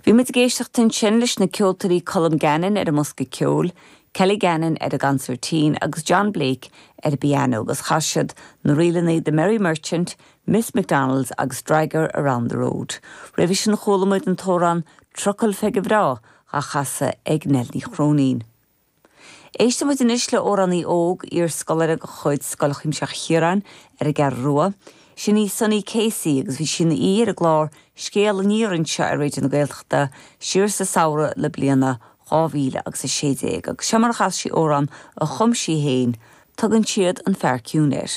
Bhí muid ag éisteacht ansin leis na ceoltóirí Colm Gannon ar an mbosca ceoil, Kelly Gannon ar an gconsairtín agus John Blake ar an bpianó agus chas siad na ríleanna The Merry Merchant, Miss McDonald's agus Dragger Around the Road. Roimhe sin chuala muid an t-amhrán Trucail Pheige Bhreá dhá chasadh ag Nell Ní Chróinín. Éistfidh muid anois le amhránaí óg, iar-scoláire de chuid Scoil Chuimsitheach Chiaráin ar an gCeathrú Rua. Sin í Sunny Casey agus bhí sí ina aoi ar an gclár Scéal Aniar anseo ar Raidió na Gaeltachta siar sa samhradh na bliana 2000 agus 16 agus seo mar a chas sí amhrán a chum sí féin, Tugann siad an fear ciúin air.